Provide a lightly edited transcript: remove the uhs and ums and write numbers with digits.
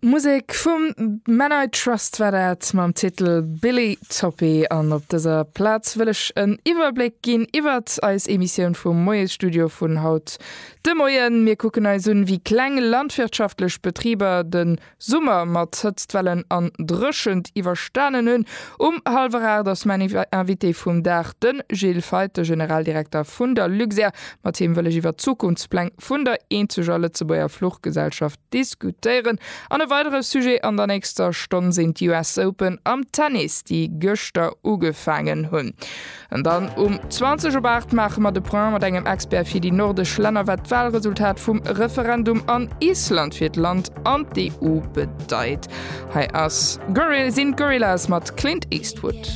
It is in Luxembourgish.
Musek vum Men I Trust war dat mam Titel Billy Toppy. An op dëser Plaz wëll ech en Iwwerbléck ginn iwwert eis Emissioun vum Moiesstudio vun haut de Moien. Mir kucken eis un, wéi kleng landwirtschaftlech Betriber de Summer mat Hëtztwellen an Dréchent iwwerstanen hunn. Um hallwer 8 ass mäin Invité vum Dag de Gilles Feith, de Generaldirekter vun der Luxair. Mat him wëll ech iwwer d'Zukunftspläng vun der eenzeger Lëtzebuerger Fluchgesellschaft diskutéieren. An e weidere Sujet an der nächster Stonn sinn d'US Open am Tennis, déi gëschter ugefaangen hunn. An dann um 20 op 8 maache mer de Point mat engem Expert fir déi nordesch Länner, wat d'Walresultat vum Referendum an Island fir d'Land an d'EU bedeit. Hei ass sinn d'Gorillaz mat Clint Eastwood.